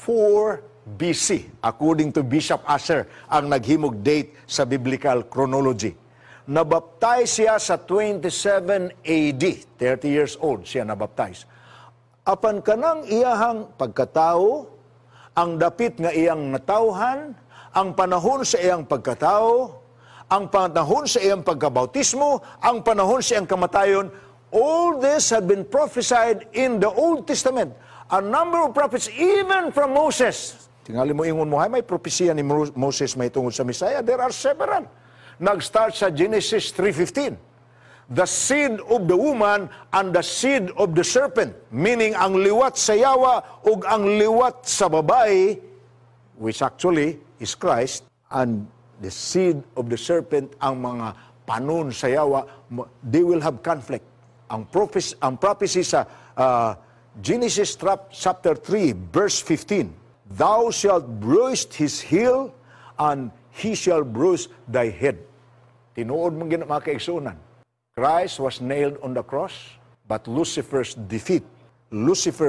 4 BC, according to Bishop Asser, ang naghimog date sa biblical chronology. Nabaptize siya sa 27 AD, 30 years old siya nabaptize. Apan kanang iyahang pagkatao, ang dapit nga iyang natawhan, ang panahon sa iyang pagkatao, ang panahon sa iyang pagkabautismo, ang panahon sa iyang kamatayon, all this had been prophesied in the Old Testament. A number of prophets, even from Moses. Tingali mo ingon mo, hay may propesiya ni Moses may tungod sa Messiah. There are several. Nag-start sa Genesis 3:15. The seed of the woman and the seed of the serpent. Meaning, ang liwat sa yawa ug ang liwat sa babae, which actually is Christ, and the seed of the serpent, ang mga panon sa yawa, they will have conflict. Ang prophecy sa Genesis chapter 3, verse 15, "Thou shalt bruise his heel, and he shall bruise thy head." Tinuod mong gina, mga kaigsuonan. Christ was nailed on the cross, but Lucifer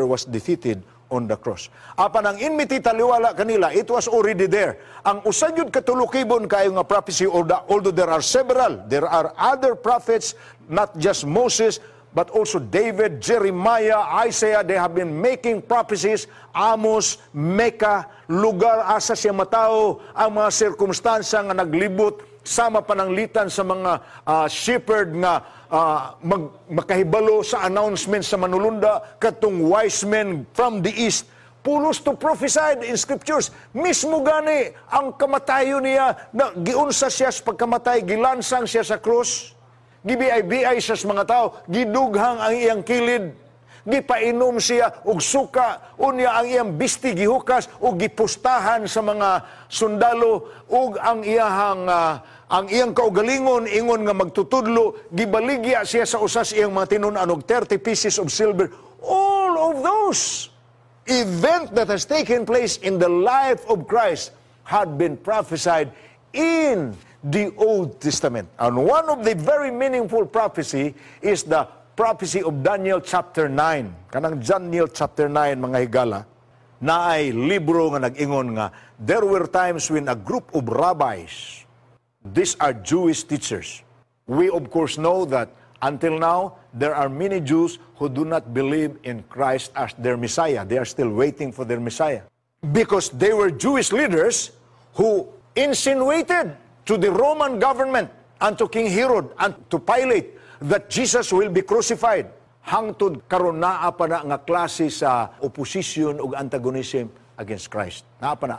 was defeated on the cross. Apan ang enmity taliwala kanila, it was already there. Ang usa gyud ka tulukibon kayo nga prophecy, although there are several, there are other prophets, not just Moses, but also David, Jeremiah, Isaiah, they have been making prophecies, Amos, Micah, lugar asa siya matao, ang mga sirkumstansya nga naglibot, sama pananglitan sa mga shepherd nga makahibalo sa announcement sa manulunda, katong wise men from the east, pulos to prophesied in scriptures. Mismo gani ang kamatayon niya, na giunsa siya sa pagkamatay, gilansang siya sa krus, gibiay-biay siya sa mga tao, gidughang ang iyang kilid, gipainom siya og suka, unya ang iyang bisti gihukas ug gipustahan sa mga sundalo, ug ang iyang kaugalingon ingon nga magtutudlo, gibaligya siya sa usas iyang mga tinun-an og 30 pieces of silver. All of those event that has taken place in the life of Christ had been prophesied in the Old Testament. And one of the very meaningful prophecy is the prophecy of Daniel chapter 9. Kanang Daniel chapter 9, mga higala, naay libro nga nag-ingon nga there were times when a group of rabbis, these are Jewish teachers. We of course know that until now, there are many Jews who do not believe in Christ as their Messiah. They are still waiting for their Messiah. Because they were Jewish leaders who insinuated to the Roman government and to King Herod and to Pilate that Jesus will be crucified. Hangtod karon naa pa na nga klase sa opposition ug antagonism against Christ. Naa pa na,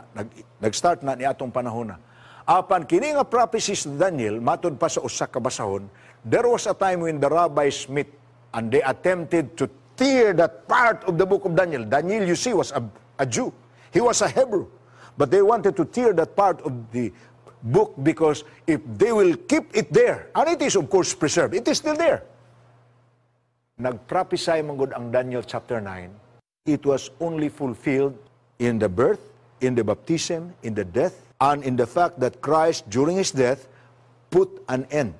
nag-start na ni atong panahon na. Apan kini nga prophecies ni Daniel, matud pa sa usa ka basahon, there was a time when the rabbis met and they attempted to tear that part of the book of Daniel. Daniel, you see, was a Jew. He was a Hebrew. But they wanted to tear that part of the book because if they will keep it there, and it is of course preserved, it is still there. Nag-prophesy man gud ang Daniel chapter 9, it was only fulfilled in the birth, in the baptism, in the death, and in the fact that Christ, during his death, put an end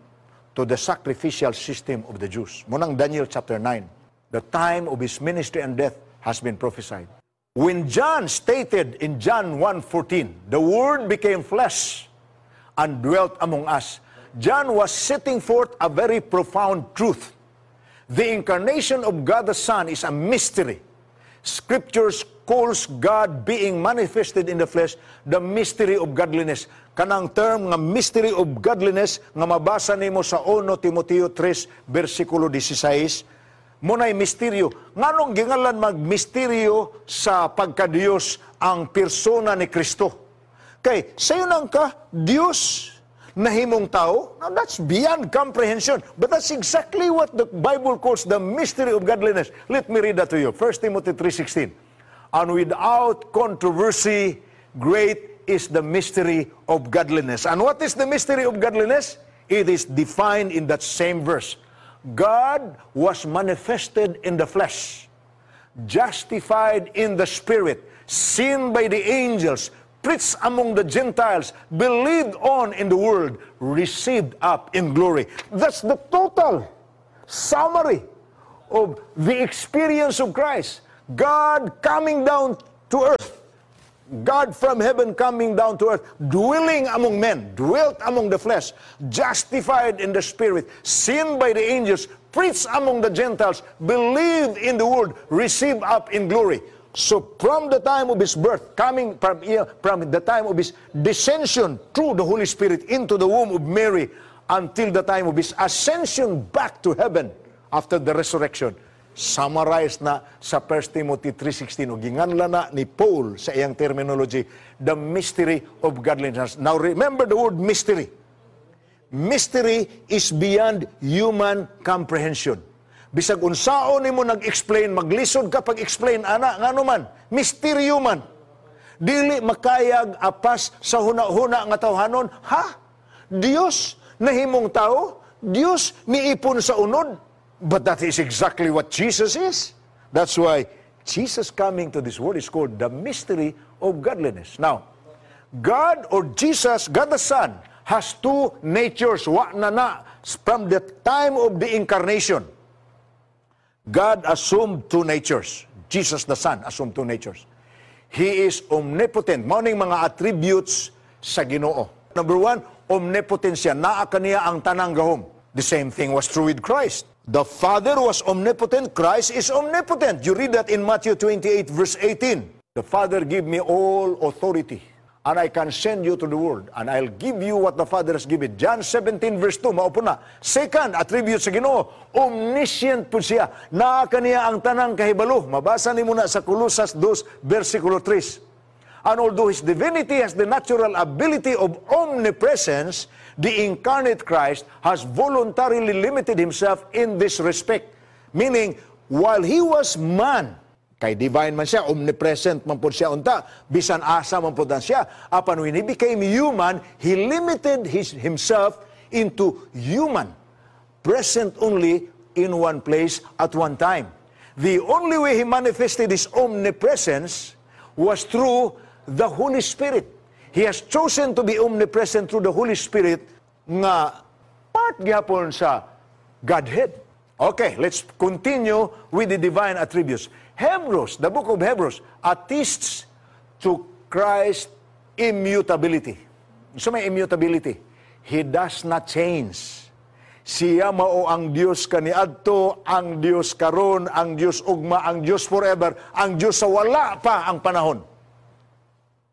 to the sacrificial system of the Jews. Mao nang Daniel chapter 9, the time of his ministry and death has been prophesied. When John stated in John 1:14, "The Word became flesh and dwelt among us," John was setting forth a very profound truth. The incarnation of God the Son is a mystery. Scriptures calls God being manifested in the flesh the mystery of godliness. Kanang term nga mystery of godliness nga mabasa nimo sa 1 Timoteo 3 versikulo 16, mao nay misteryo. Nganong gingalan mag misteryo sa pagkadiyos ang persona ni Kristo? Kay sayo nang ka Dios nahimong tao? Now that's beyond comprehension. But that's exactly what the Bible calls the mystery of godliness. Let me read that to you. 1 Timothy 3:16. "And without controversy, great is the mystery of godliness." And what is the mystery of godliness? It is defined in that same verse. "God was manifested in the flesh, justified in the spirit, seen by the angels, preached among the Gentiles, believed on in the world, received up in glory." That's the total summary of the experience of Christ. God coming down to earth God from heaven coming down to earth, dwelling among men, dwelt among the flesh, justified in the spirit, seen by the angels, preached among the Gentiles, believed in the world, received up in glory. So from the time of his birth, coming from the time of his descension through the Holy Spirit into the womb of Mary, until the time of his ascension back to heaven after the resurrection, summarized na sa 1 Timothy 3.16 o ginganla na ni Paul sa iyang terminology, the mystery of godliness. Now remember the word "mystery." Mystery is beyond human comprehension. Bisag unsaon nimo nag-explain, maglisod ka pag-explain ana. Ngano man? Misteryo man. Dili makayag apas sa huna-huna nga tawhanon. Ha? Dios nahimong tao? Dios niipon sa unod? But that is exactly what Jesus is. That's why Jesus coming to this world is called the mystery of godliness. Now, God or Jesus, God the Son, has two natures. Wa na na from the time of the incarnation. God assumed two natures. Jesus the Son assumed two natures. He is omnipotent. Mao ning mga attributes sa Ginoo. Number one, omnipotent siya. Naa kaniya ang tanang gahom. The same thing was true with Christ. The Father was omnipotent. Christ is omnipotent. You read that in Matthew 28 verse 18. "The Father give me all authority, and I can send you to the world, and I'll give you what the Father has given." John 17 verse 2, mao po na. Second attribute sa Ginoo, omniscient po siya. Naa kaniya ang tanang kahibalo. Mabasa nimo na sa Colosas 2 versikulo 3. And although his divinity has the natural ability of omnipresence, the incarnate Christ has voluntarily limited himself in this respect. Meaning, while he was man, kay divine man siya, omnipresent man po siya unta, bisan asa man po siya. Apan when he became human, he limited himself into human, present only in one place at one time. The only way he manifested his omnipresence was through the Holy Spirit. He has chosen to be omnipresent through the Holy Spirit nga part gyapon sa Godhead. Okay, let's continue with the divine attributes. Hebrews, the book of Hebrews, attests to Christ's immutability. So may immutability. He does not change. Siya mao ang Dios kaniadto, ang Dios karon, ang Dios ugma, ang Dios forever, ang Dios sa wala pa ang panahon.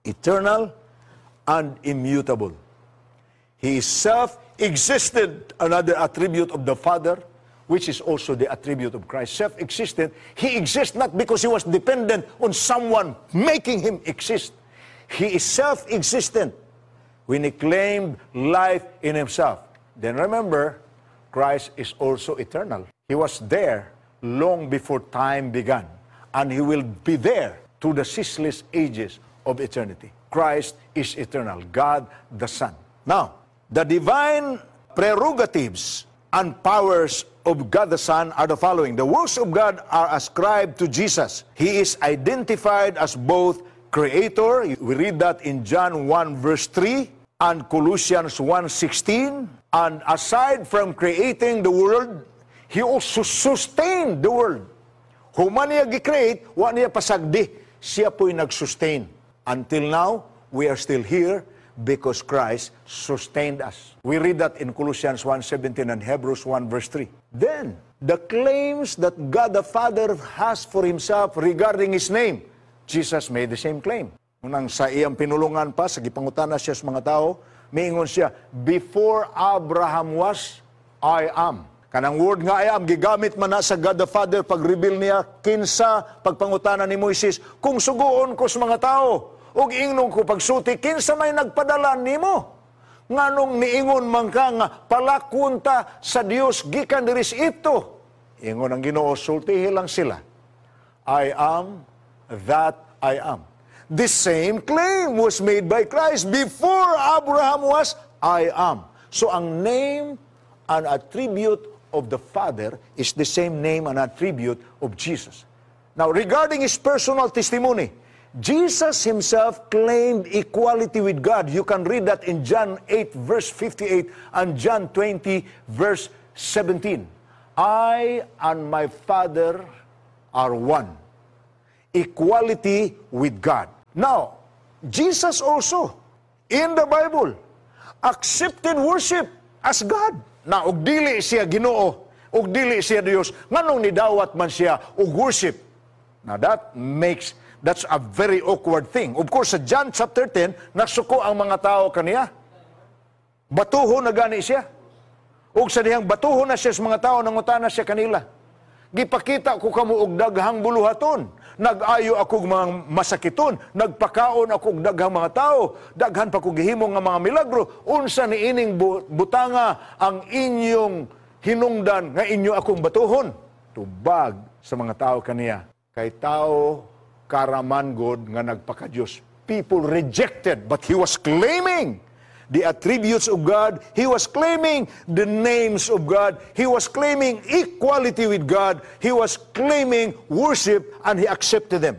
Eternal and immutable. He is self-existed, another attribute of the Father, which is also the attribute of Christ. Self-existent. He exists not because he was dependent on someone making him exist. He is self-existent when he claimed life in himself. Then remember, Christ is also eternal. He was there long before time began, and he will be there to the ceaseless ages of eternity. Christ is eternal, God the Son. Now, the divine prerogatives and powers of God the Son are the following. The works of God are ascribed to Jesus. He is identified as both creator. We read that in John 1 verse 3 and Colossians 1:16. And aside from creating the world, he also sustained the world. Human niya gi-create, wa niya pasagdi. Siya po'y nag-sustain. Until now, we are still here because Christ sustained us. We read that in Colossians 1:17 and Hebrews 1 verse 3. Then, the claims that God the Father has for himself regarding his name, Jesus made the same claim. Unang sa iyang pinulungan pa, sa gipangutana siya sa mga tao, miingon siya, "Before Abraham was, I am." Kanang word nga "I am," gigamit man na sa God the Father pag-reveal niya kinsa pagpangutana ni Moises, "Kung suguon ko sa mga tao, ug ingnon ko pagsulti, kinsa may nagpadala nimo? Nganong niingon man ka nga palakwon ta sa Dios gikan diri sa Egypto?" Ingon ang Ginoo, "Sultihi lang sila, 'I am that I am.'" The same claim was made by Christ. "Before Abraham was, I am." So ang name and attribute of the Father is the same name and attribute of Jesus. Now, regarding his personal testimony, Jesus himself claimed equality with God. You can read that in John 8, verse 58 and John 20, verse 17. "I and my Father are one." Equality with God. Now, Jesus also, in the Bible, accepted worship as God. Na og dili siya Ginoo, og dili siya Dios, nganong nidawat man siya og worship? Now that's a very awkward thing. Of course, sa John chapter 10, nasuko ang mga tao kaniya. Batuho na gani siya. Ug sa dihang batuho na siya sa mga tao, nangutana siya kanila. "Gipakita ko kamo og daghang buluhaton. Nag-ayo ako og mga masakiton, nagpakaon ako og daghang mga tao, daghan pa ko gihimo nga mga milagro. Unsa ni ining butanga ang inyong hinungdan nga inyo akong batuhon?" Tubag sa mga tao kaniya, "Kay tao ka ra man god nga nagpaka-Diyos." People rejected, but he was claiming the attributes of God. He was claiming the names of God. He was claiming equality with God. He was claiming worship, and he accepted them.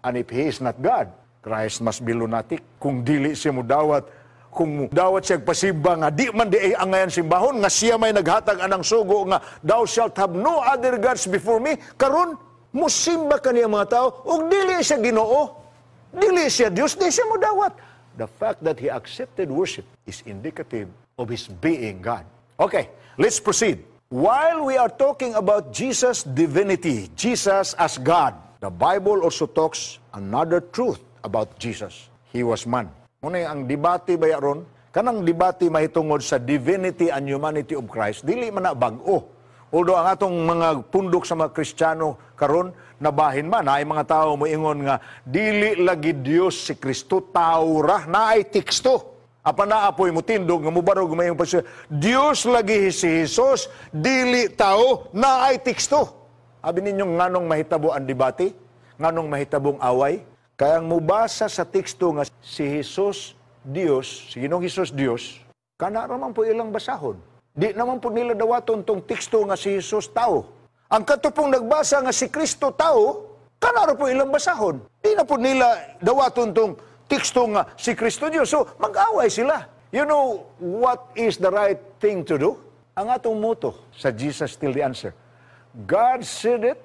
And if he is not God, Christ must be lunatic. Kung dili siya mudawat, kung dawat siya pasimba nga di man di ay angayan simbahon, nga siya may naghatag anang sugo nga "Thou shalt have no other gods before me," karon musimba kaniya mga tao ug dili siya Ginoo, dili siya Dios, di siya mudawat. The fact that he accepted worship is indicative of his being God. Okay, let's proceed. While we are talking about Jesus' divinity, Jesus as God, the Bible also talks another truth about Jesus. He was man. Muna ang debate ba ron, kanang debate mahitungod sa divinity and humanity of Christ, dili man na bag-o. Although ang atong mga pundok sa mga Kristiyano karon nabahin man, naay mga tao moingon nga dili lagi Dios si Kristo, tao ra, naay teksto. Apan naa poy motindog nga mubarog mayong pa, "Dios lagi si Jesus, dili tao, naay teksto." Abi ninyo, nganong mahitabo ang debate? Nganong mahitabong away? Kaya ang mubasa sa teksto nga si Jesus Dios, si Ginoong Jesus Dios, kana ra man po ilang basahon. Di naman po nila dawaton tong teksto nga si Jesus tao. Ang kato pong nagbasa nga si Kristo tao, kana ra po ilang basahon. Di na po nila dawaton tong teksto nga si Kristo Diyos. So, mag-away sila. You know what is the right thing to do? Ang atong motto sa Jesus Still the Answer: God said it,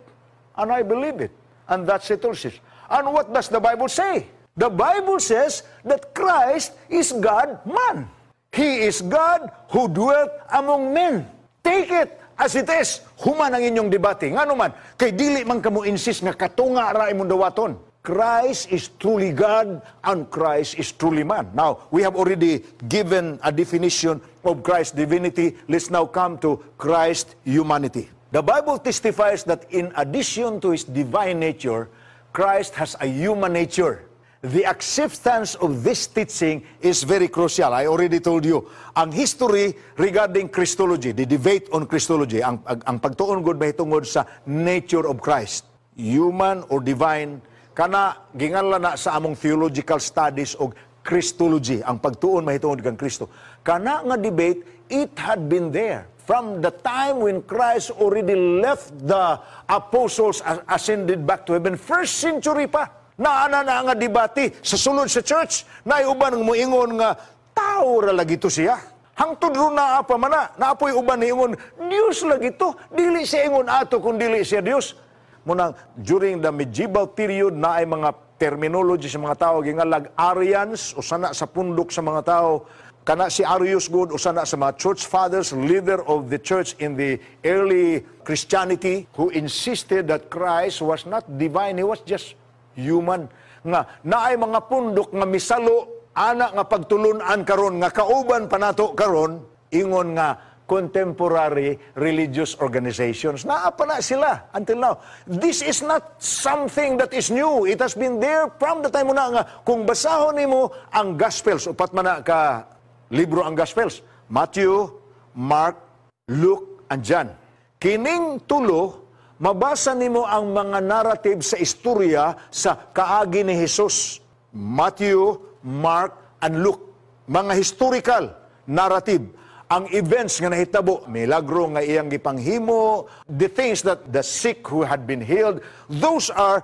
and I believe it. And that settles it. And what does the Bible say? The Bible says that Christ is God man. He is God who dwelt among men. Take it as it is. Human ang inyong debate. Ngano man, kay dili man kamo insist nga katunga ra imong dawaton. Christ is truly God and Christ is truly man. Now, we have already given a definition of Christ's divinity. Let's now come to Christ's humanity. The Bible testifies that in addition to his divine nature, Christ has a human nature. The acceptance of this teaching is very crucial. I already told you, ang history regarding Christology, the debate on Christology, ang pagtuon gud mahitungod sa nature of Christ, human or divine, kana ginganlan na sa among theological studies og Christology, ang pagtuon mahitungod kang Kristo. Kana nga debate, it had been there from the time when Christ already left the apostles, ascended back to heaven, first century pa. Naana na nga debate sa sulod sa church. Naay uban nga moingon nga tao ra lagi to siya. Hangtod ron naa pa man na. Naa poy uban niingon, "Dios lagi to. Dili siya ingon ato kung dili siya Dios." Munang during the medieval period, naay mga terminology sa mga tao gingalag Arians, usa na sa pundok sa mga tao. Kana si Arius gud, usa na sa mga church fathers, leader of the church in the early Christianity, who insisted that Christ was not divine, he was just human. Nga naay mga pundok nga misalo ana nga pagtulun-an karon nga kauban pa nato karon, ingon nga contemporary religious organizations. Naa pa na sila until now. This is not something that is new. It has been there from the time mo na nga kung basahon nimo ang Gospels, upat man na ka libro ang Gospels: Matthew, Mark, Luke, and John. Kining tulo, mabasa nimo ang mga narrative sa istorya sa kaagi ni Jesus. Matthew, Mark, and Luke. Mga historical narrative. Ang events nga nahitabo, milagro nga iyang gipanghimo, the things that the sick who had been healed, those are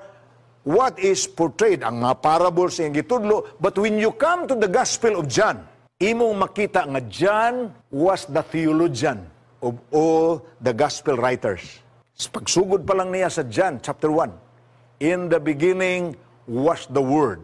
what is portrayed, ang mga parables iyang gitudlo. But when you come to the Gospel of John, imong makita nga John was the theologian of all the gospel writers. Sa pagsugod pa lang niya sa John chapter 1, "In the beginning was the Word,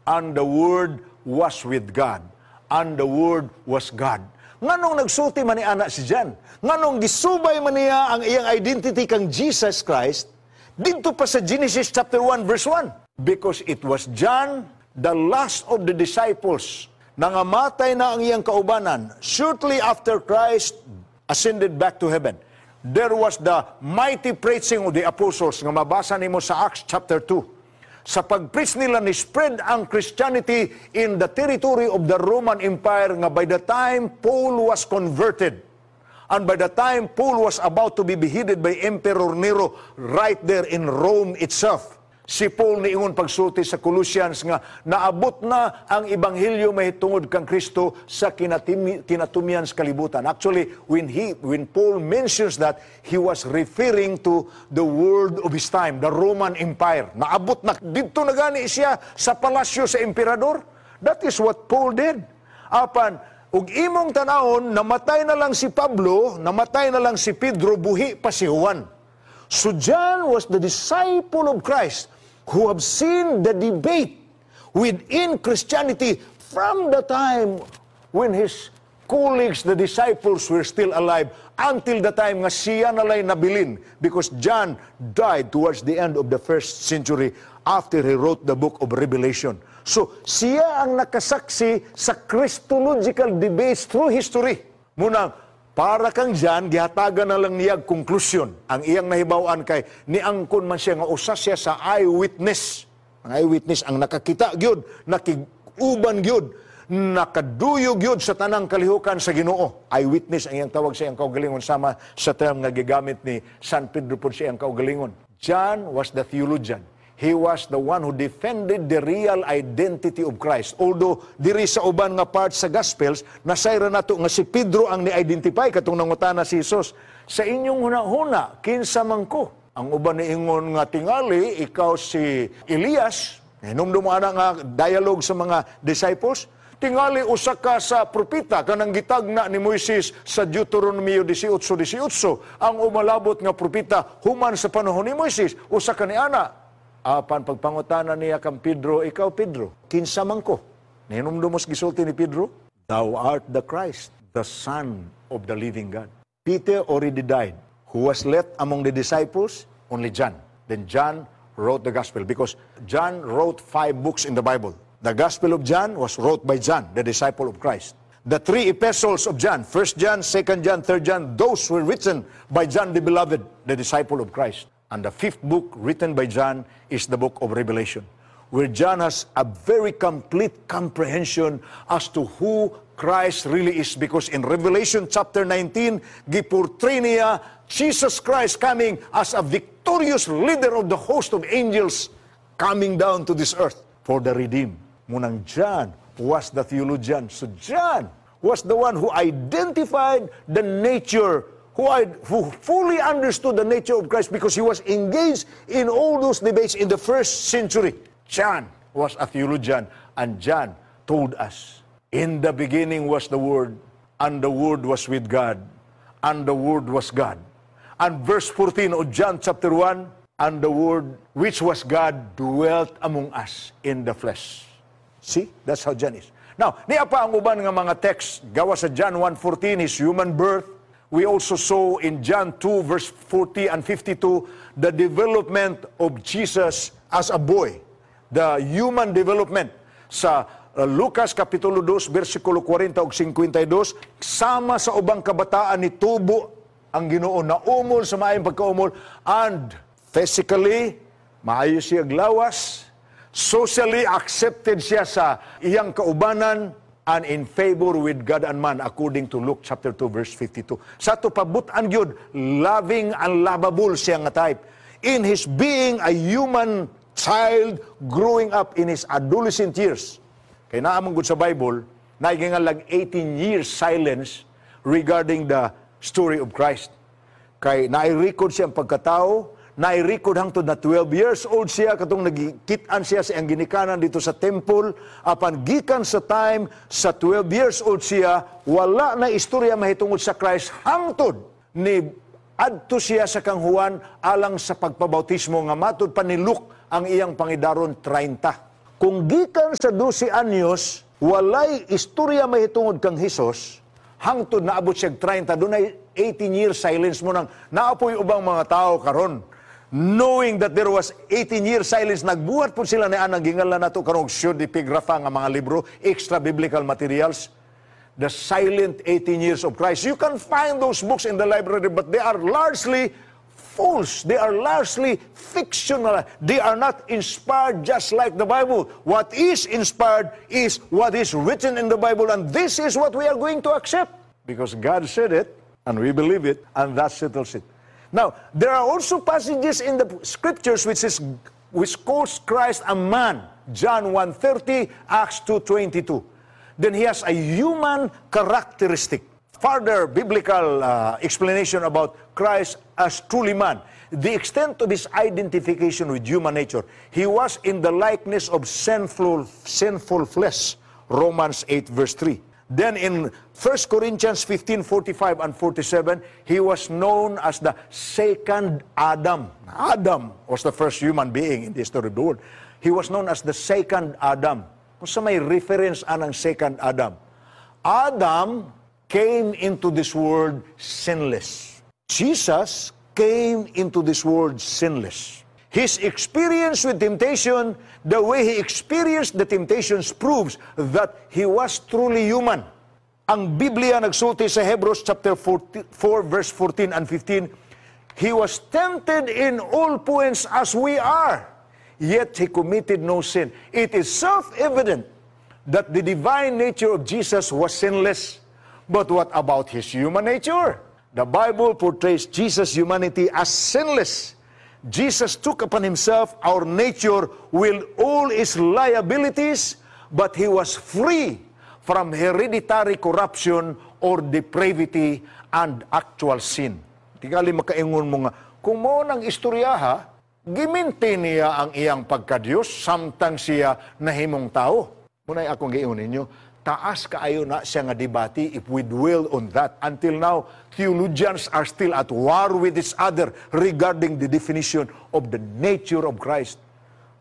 And the Word was with God, and the Word was God. Nganong nagsulti man ni ana si John? Nganong gisubay man niya ang iyang identity kang Jesus Christ didto pa sa Genesis chapter 1 verse 1? Because it was John, the last of the disciples, nangamatay na ang iyang kaubanan shortly after Christ ascended back to heaven. There was the mighty preaching of the apostles nga mabasa nimo sa Acts chapter 2. Sa pag-preach nila, ni spread ang Christianity in the territory of the Roman Empire nga by the time Paul was converted and by the time Paul was about to be beheaded by Emperor Nero right there in Rome itself, si Paul niingon pagsulti sa Colossians nga naabot na ang ebanghelyo mahitungod kang Kristo sa kinatumyan sa kalibutan. Actually, when Paul mentions that, he was referring to the world of his time, the Roman Empire. Naabot na didto na gani siya sa palasyo sa emperador. That is what Paul did. Apan ug imong tanawon, namatay na lang si Pablo, namatay na lang si Pedro, buhi pa si Juan. So John was the disciple of Christ who have seen the debate within Christianity from the time when his colleagues, the disciples, were still alive until the time nga siya nalay nabilin, because John died towards the end of the first century after he wrote the book of Revelation. So siya ang nakasaksi sa Christological debates through history. Munang para kang John, gihatagan na lang niya konklusyon. Ang iyang nahibaw-an kay niangkon man siya nga usa siya sa eyewitness. Ang eyewitness ang nakakita gyud, nakig-uban gyud, nakaduyog gyud sa tanang kalihukan sa Ginoo. Eyewitness ang iyang tawag sa iyang kaugalingon, sama sa term nga gigamit ni San Pedro pod sa iyang kaugalingon. John was the theologian. He was the one who defended the real identity of Christ. Although diri sa uban nga part sa Gospels, nasayran nato nga si Pedro ang ni-identify katong nangutana si Jesus, "Sa inyong huna-huna, kinsa man ko?" Ang uban niingon nga tingali ikaw si Elias. Hinumdum mo ana nga dialogue sa mga disciples. Tingali usa ka sa propeta kanang gitagna ni Moises sa Deuteronomio 18:18, ang umalabot nga propeta human sa panahon ni Moises, usa ka ni ana. Apan pagpangutana niya kang Pedro, "Ikaw, Pedro, kinsa man ko?" Nihinumdum mo gisulti ni Pedro? "Thou art the Christ, the Son of the living God." Peter already died. Who was left among the disciples? Only John. Then John wrote the Gospel because John wrote five books in the Bible. The Gospel of John was wrote by John, the disciple of Christ. The three epistles of John, 1 John, 2 John, 3 John, those were written by John the Beloved, the disciple of Christ. And the fifth book written by John is the book of Revelation, where John has a very complete comprehension as to who Christ really is, because in Revelation chapter 19, giportray niya Jesus Christ coming as a victorious leader of the host of angels coming down to this earth for the redeemed. Munang John was the theologian. So John was the one who identified the nature, who fully understood the nature of Christ because he was engaged in all those debates in the first century. John was a theologian, and John told us, "In the beginning was the Word, and the Word was with God, and the Word was God." And verse 14 of John chapter 1, "And the Word, which was God, dwelt among us in the flesh." See? That's how John is. Now, niya pa ang uban nga mga text, gawa sa John 1:14, his human birth. We also saw in John 2 verse 40 and 52 the development of Jesus as a boy. The human development. Sa Lucas Kapitulo 2 versikulo 40 ug 52, sama sa ubang kabataan ni tubo ang Ginoo, naumol sa maayong pagkaumol, and physically maayo siya lawas, socially accepted siya sa iyang kaubanan, and in favor with God and man according to Luke chapter 2 verse 52. Sa ato pabutan gyud, loving and lovable siya nga type. In his being a human child growing up in his adolescent years. Kay naa man gud sa Bible, naay lag 18 years silence regarding the story of Christ. Kay nai-record siya ang pagkatao, nai-record hangtod na 12 years old siya katong nagkit-an siya sa iyang ginikanan dito sa temple, apan gikan sa time sa 12 years old siya, wala na istorya mahitungod sa Christ hangtod ni adto siya sa kang Juan alang sa pagpabautismo nga matud pa ni Luke ang iyang pangidaron 30. Kung gikan sa 12 anyos, walay istorya mahitungod kang Hesus, hangtod naabot siya 30, dunay 18 years silence. Mao nang naa poy ubang mga tao karon, knowing that there was 18 years silence, nagbuhat po sila ni anang gingalan nato karon pseudepigrapha nga mga libro, extra biblical materials, the silent 18 years of Christ. You can find those books in the library, but they are largely false. They are largely fictional. They are not inspired just like the Bible. What is inspired is what is written in the Bible, and this is what we are going to accept because God said it, and we believe it, and that settles it. Now, there are also passages in the scriptures which calls Christ a man. John 1:30, Acts 2:22. Then he has a human characteristic. Further biblical explanation about Christ as truly man. The extent of his identification with human nature. He was in the likeness of sinful flesh. Romans 8 verse 3. Then in 1 Corinthians 15, 45 and 47, he was known as the second Adam. Adam was the first human being in the history of the world. He was known as the second Adam. Unsa may reference anang second Adam? Adam came into this world sinless. Jesus came into this world sinless. His experience with temptation, the way he experienced the temptations, proves that he was truly human. Ang Biblia nagsulti sa Hebrews chapter 4 verse 14 and 15, "He was tempted in all points as we are, yet he committed no sin." It is self-evident that the divine nature of Jesus was sinless. But what about his human nature? The Bible portrays Jesus' humanity as sinless. Jesus took upon himself our nature with all its liabilities, but he was free from hereditary corruption or depravity and actual sin. Tingali makaingon mo nga, kung mao nang istoryaha, gi-maintain niya ang iyang pagkadiyos samtang siya nahimong tao. Mao na'y akong giingon ninyo, taas kaayo na siya nga debate if we dwell on that. Until now, theologians are still at war with each other regarding the definition of the nature of Christ.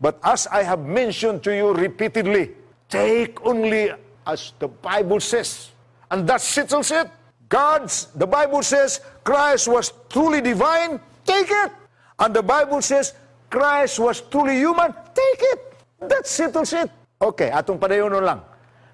But as I have mentioned to you repeatedly, take only as the Bible says. And that settles it. The Bible says Christ was truly divine, take it. And the Bible says Christ was truly human, take it. That settles it. Okay, atong padayonon lang.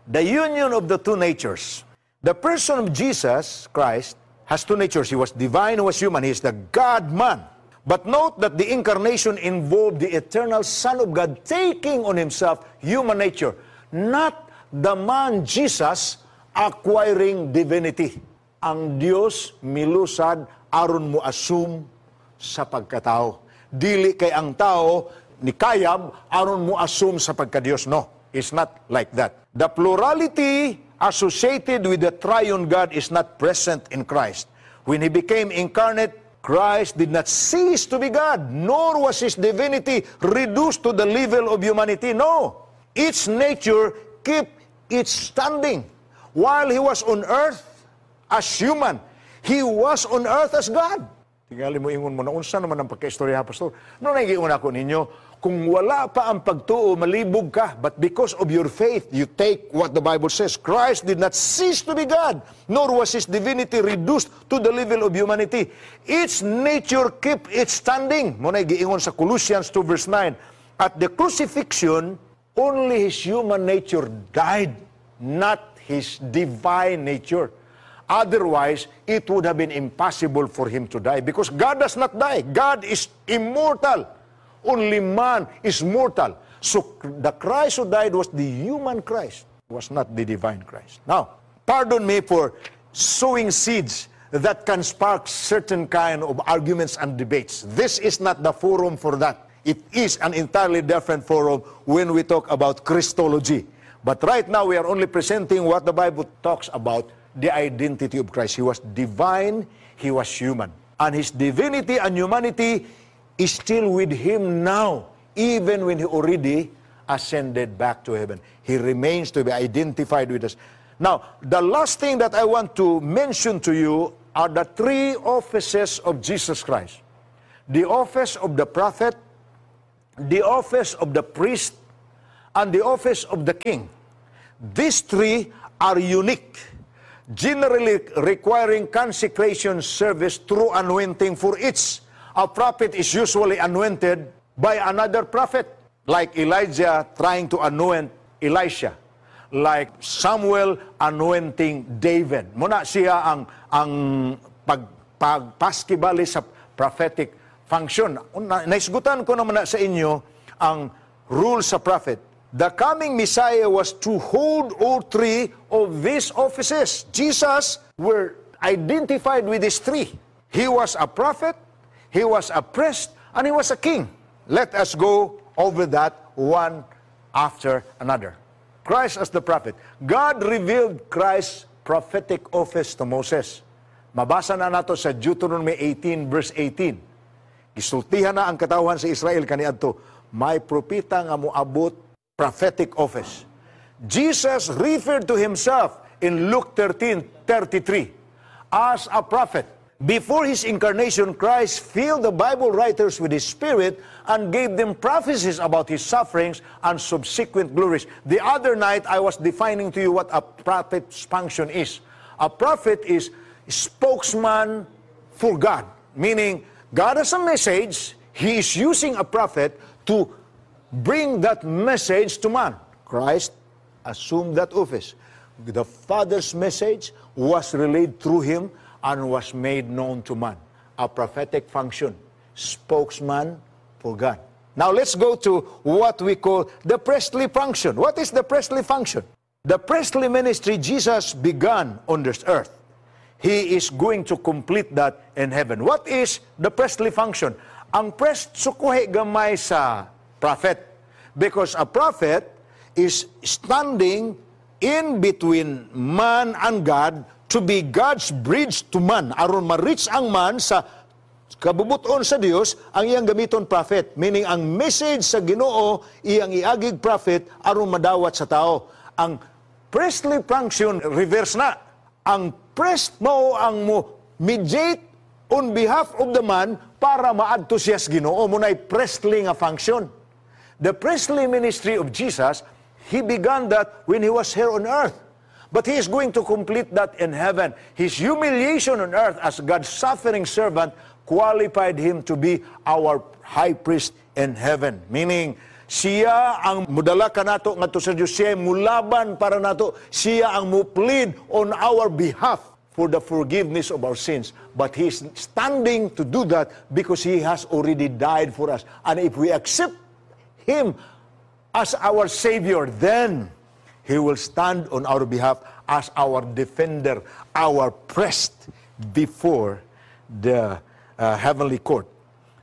The union of the two natures. The person of Jesus Christ has two natures. He was divine, he was human. He is the God-man. But note that the incarnation involved the eternal Son of God taking on himself human nature, not the man Jesus acquiring divinity. Ang Dios milusad aron mo assume sa pagkatao. Dili kay ang tao nikayab aron mo assume sa pagkadiyos. No, it's not like that. The plurality associated with the triune God is not present in Christ. When He became incarnate, Christ did not cease to be God, nor was His divinity reduced to the level of humanity. No. Its nature kept its standing. While He was on earth as human, He was on earth as God. Tingali mo ingon mo na, unsa naman ang pagkaistorya, Pastor? No, nagiingon ako ninyo, kung wala pa ang pagtuo, malibog ka. But because of your faith, you take what the Bible says. Christ did not cease to be God, nor was His divinity reduced to the level of humanity. Its nature kept its standing. Mao na giingon sa Colossians 2 verse 9. At the crucifixion, only His human nature died, not His divine nature. Otherwise, it would have been impossible for Him to die because God does not die. God is immortal. Only man is mortal. So the Christ who died was the human Christ, was not the divine Christ. Now, pardon me for sowing seeds that can spark certain kind of arguments and debates. This is not the forum for that. It is an entirely different forum when we talk about Christology. But right now, we are only presenting what the Bible talks about, the identity of Christ. He was divine, He was human. And His divinity and humanity is still with Him now, even when He already ascended back to heaven. He remains to be identified with us. Now, the last thing that I want to mention to you are the three offices of Jesus Christ: the office of the prophet, the office of the priest, and the office of the king. These three are unique, generally requiring consecration service through anointing for each. A prophet is usually anointed by another prophet, like Elijah trying to anoint Elisha, like Samuel anointing David. Mao na siya ang pagpaskibali sa prophetic function. Naisgutan ko naman na sa inyo ang rule sa prophet. The coming Messiah was to hold all three of these offices. Jesus were identified with these three. He was a prophet, he was a priest, and he was a king. Let us go over that one after another. Christ as the prophet. God revealed Christ's prophetic office to Moses. Mabasa na nato sa Deuteronomy 18 verse 18. Gisultihan na ang katawhan sa Israel kaniadto, may propeta nga moabot, prophetic office. Jesus referred to himself in Luke 13:33 as a prophet. Before his incarnation, Christ filled the Bible writers with his Spirit and gave them prophecies about his sufferings and subsequent glories. The other night, I was defining to you what a prophet's function is. A prophet is spokesman for God, meaning God has a message, he is using a prophet to bring that message to man. Christ assumed that office. The Father's message was relayed through him and was made known to man. A prophetic function, spokesman for God. Now let's go to what we call the priestly function. What is the priestly function? The priestly ministry Jesus began on this earth. He is going to complete that in heaven. What is the priestly function? Ang priest sukuhi gamay sa prophet. Because a prophet is standing in between man and God to be God's bridge to man. Aron ma-reach ang man sa kabubuton sa Dios, ang iyang gamiton prophet. Meaning, ang message sa Ginoo, iyang iagig prophet aron madawat sa tao. Ang priestly function, reverse na. Ang priest mao ang mo mediate on behalf of the man para maadto siya sa Ginoo. Mao na'y priestly nga function. The priestly ministry of Jesus, he began that when he was here on earth. But he is going to complete that in heaven. His humiliation on earth as God's suffering servant qualified him to be our high priest in heaven. Meaning, siya ang mudala kanato ngadto sa Diyos. Siya mulaban para nato. Siya ang mu-plead on our behalf for the forgiveness of our sins. But he is standing to do that because he has already died for us. And if we accept him as our Savior, then he will stand on our behalf as our defender, our priest before the heavenly court.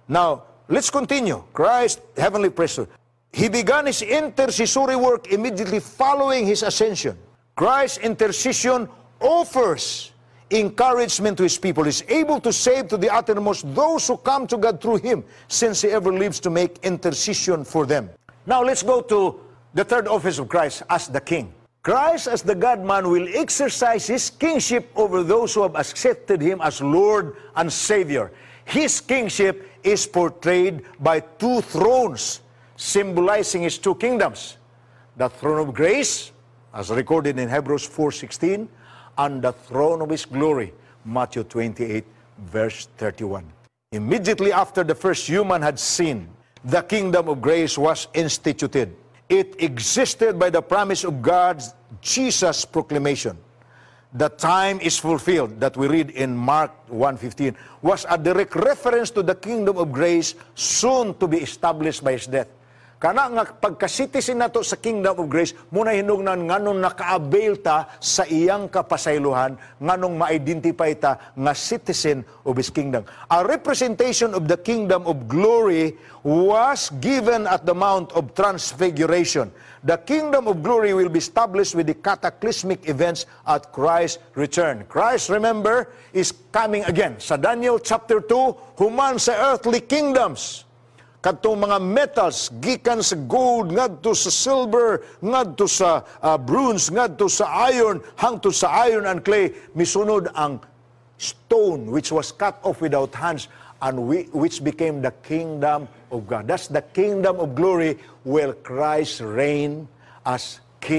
Now, let's continue. Christ, heavenly priesthood. He began his intercessory work immediately following his ascension. Christ's intercession offers encouragement to his people. He's able to save to the uttermost those who come to God through him, since he ever lives to make intercession for them. Now let's go to the third office of Christ as the king. Christ as the God-man will exercise his kingship over those who have accepted him as Lord and Savior. His kingship is portrayed by two thrones, symbolizing his two kingdoms. The throne of grace, as recorded in Hebrews 4:16, and the throne of his glory, Matthew 28, verse 31. Immediately after the first human had sinned, the kingdom of grace was instituted. It existed by the promise of God's Jesus proclamation. "The time is fulfilled," that we read in Mark 1:15, was a direct reference to the kingdom of grace soon to be established by his death. Kana nga pagka-citizen nato sa kingdom of grace, mao na hinungnan nganong naka-avail ta sa iyang kapasaylohan, nganong ma-identify ta nga citizen of his kingdom. A representation of the kingdom of glory was given at the Mount of Transfiguration. The kingdom of glory will be established with the cataclysmic events at Christ's return. Christ, remember, is coming again. Sa Daniel chapter 2, human sa earthly kingdoms, kadtong mga metals gikan sa gold ngadto sa silver, ngadto sa bronze, ngadto sa iron, hangtod sa iron and clay, misunod ang stone which was cut off without hands and which became the kingdom of God. That's the kingdom of glory where Christ reign as